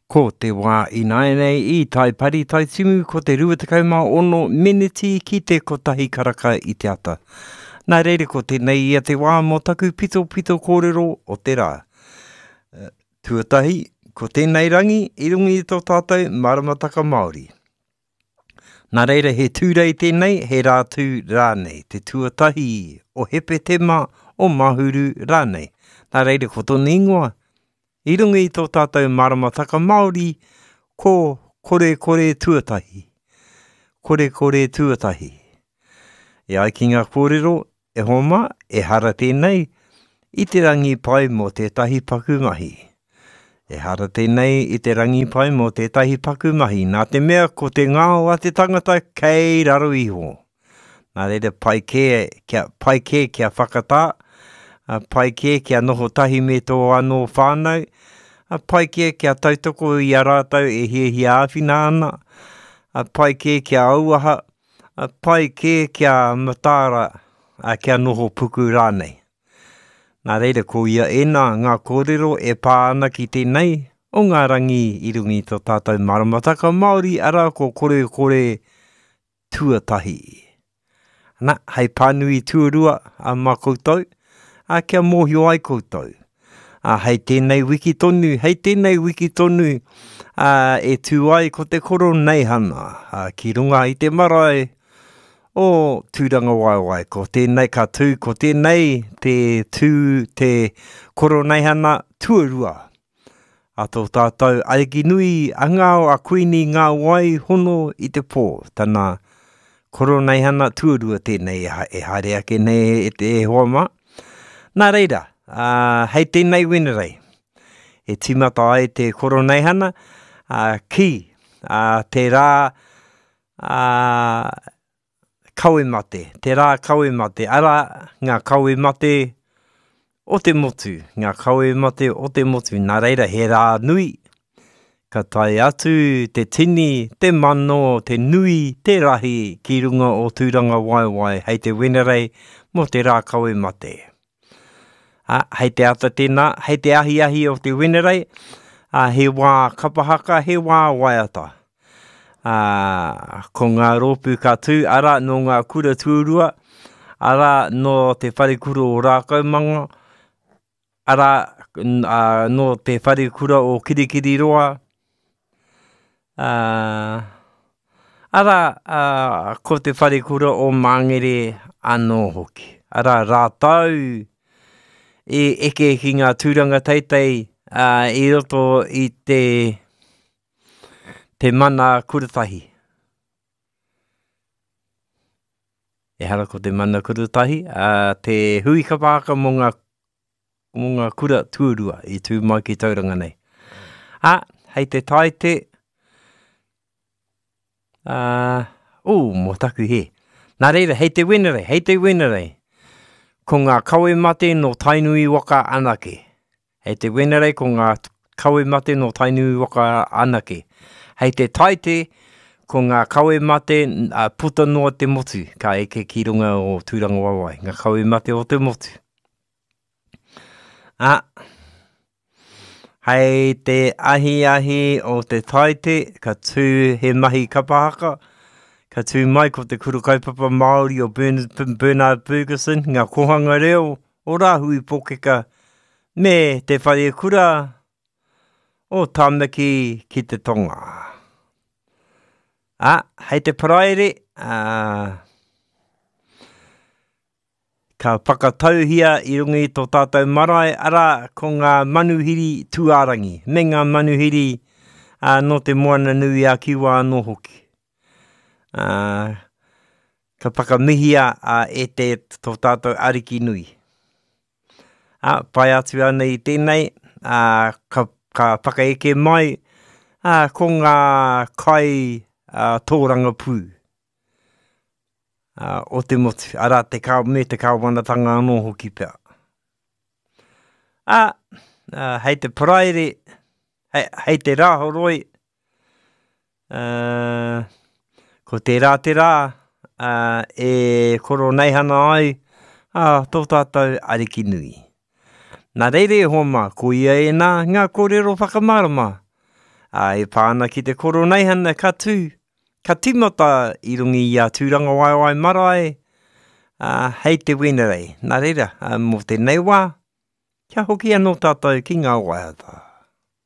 Ko te wā ināianei i Taipari Taitimu ko te 26 meneti ki te kotahi karaka i te ata. Nā reira ko tēnei ia te wā mō taku pitopito kōrero o te rā. Tuatahi, ko tēnei rangi i runga i tō tātou maramataka Māori. Nā reira he Tūrei tēnei, he Rātū rānei, te tuatahi o Hepetema, o Mahuru rānei. Nā reira ko tōna ingoa, i runga i tō tātou maramataka Māori, ko Korekore Tuatahi. Korekore Tuatahi. E ai ki ngā kōrero, E hoa mā, ehara tēnei i te rangi pai mō tētahi paku mahi. Ehara tēnei i te rangi pai mō tētahi paku mahi, nā te mea ko te ngao a te tangata kei raro iho. Nā reira pai kē kia, pai kē kia whakatā, pai kē kia noho tahi me tō anō whānau, pai kē kia tautoko i a rātou e hiahia āwhina ana, pai kē kia auaha, Pai kē kia mataara, kia noho puku rānei. Nā reira, ko ia ēnā ngā kōrero e pā ana ki tēnei o ngā rangi i runga i tō tātou maramataka Māori, arā ko Korekore Tuatahi. Ana, hei pānui tuarua mā koutou, ā, kia mōhio ai koutou. Ā, hei tēnei wiki tonu, hei tēnei wiki tonu, ā, e tū ai ko te Koroneihana, ā, ki runga i te marae o Tūrangawaewae. Ko tēnei ka tū, ko tēnei te tū te Koroneihana tuarua a tō tātou Ariki nui a Ngao a Kuini Ngā Wai Hono i te Pō, tana Koroneihana tuarua tēnei e haere ake nei e te e hoa mā. Nā reira, ā, hei tēnei Wenerei, e tīmata ai te Koroneihana, ā, ki, ā, te rā, ā, kawe mate, te rā kawe mate, arā, ngā kawe mate o te motu, ngā kawe mate o te motu, nā reira he rā nui, ka tae atu te tini, te mano, te nui, te rahi ki runga o Tūrangawaewae hei te Wenerei mō te rā kawe mate. Ā, hei te ata tēnā, hei te ahiahi o te Wenerei, ā, he wā kapa haka, he wā waiata. Ā, ko ngā rōpū ka tū, arā, nō ngā kura tuarua, arā, nō te wharekura o Rākaumanga, arā, ā, nō te wharekura o Kirikiriroa, ā, arā, ā, ko te wharekura o Māngere anō hoki. Arā, rātou i eke ki ngā tūranga teitei, ā, i roto i te, Te mana kuratahi. Ehara ko te mana kuratahi, a te hui kapa haka mō ngā, mō ngā kura tuarua i tū mai ki Tauranga nei. A, hei te taite, a, ū, mō taku hē. Nā reira, hei te Wenerei, hei te Wenerei, ko ngā kawe mate nō Tainui waka anake. Hei te Wenerei ko ngā kawe mate nō Tainui waka anake. Hei te Taite ko ngā kawe mate puta noa te motu ka eke ki runga o Tūrangawaewae, ngā kawe mate o te motu. Ā, hei te ahiahi o te Taite ka tū he mahi kapa haka, ka tū mai ko te Kura Kaupapa Māori o Bernard Fergusson, ngā kōhanga reo o Rāhui Pōkeka me te wharekura o Tāmaki ki te Tonga. Ā, hei te Paraire, ā, ka whakatauhia i runga i tō tātou marae, arā, ko ngā manuhiri tūārangi, me ngā manuhiri ā, nō te Moana Nui a Kiwa anō hoki. Ā, ka whakamihia a, e te tō tātou Ariki nui. Ā, whai atu ana i tēnei, ā, ka, ka whakaeke mai, ā, ko ngā kai ā, tōrangapū ā, o te motu, arā, te kā, me te kāwanatanga anō hoki pea. Ā, ā, hei te Paraire, hei, hei te Rāhoroi, Uh, ko tērā te rā uh, e koroneihana ai uh, tō tātou ariki nui. Nā reira e hoa mā, ko ia ēnā ngā kōrero whakamārama. Ā, e pā ana ki te Koroneihana ka tū, ka tīmata i runga i a Tūrangawaewae Marae, ā, hei te Wenerei. Nā reira, ā, mō tēnei wā, kia hoki anō tātou ki ngā waiata.